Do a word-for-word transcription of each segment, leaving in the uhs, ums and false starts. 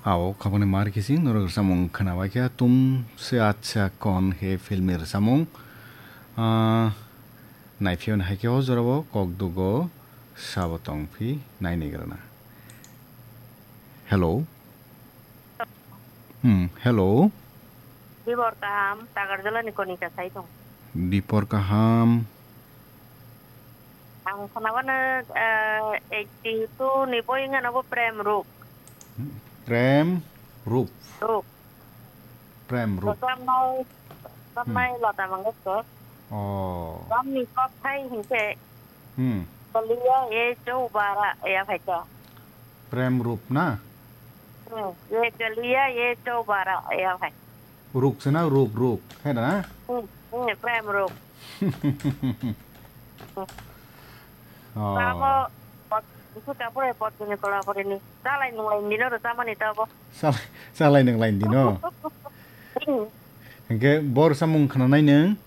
Ao, khobangni mar kisi norok rwchapmung khwnabaikha, Tumse Achha Kaun Hai film ni rwchapmung. Ah, naiphiyo hai khe o jorao kok dugo sabo tongphi naini grana. Hello. Hmm, hello. Dibor kaham, Takarjala ni Konika sai tong. Dipor kaham. Ang khwnabano, eh, eighty two ni boi wngkha nobo Prem Ruk. Prem Rup. Ruk. Prem Rup. Rwchapnai, rwchapnai Hmm. Lata Mangeshkar. Oh. Romni kokthai hinkhe Hmm. Galiya ye chobara ya phaikha. Prem Rup na? Hmm. Ye galiya ye chobara ya phai. Ruk se na? Ruk, Ruk. Hai da na? Hmm. Hmm. Prem Ruk. Oh. Tamo pot, isu kapure pot bini kola pore ni. Salai nunglai nino ro tamani tabo. Salai, salai nunglai nino. Hmm. Hingke bor samung khana nai nung?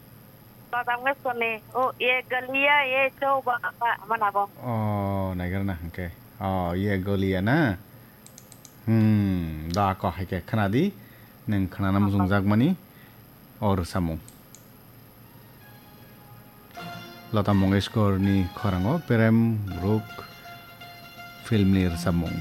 Lata Mangeshkar ni. O, ye galiya ye chobara mana bo. Oh, naigar na hingke. Oh, ye galiya na? Hmm, da ko hai khe khna di. Nung khnana muchung jakmani o rwchapmung. Lata Mangeshkar ni khorang o Prem Ruk film ni rwchapmung.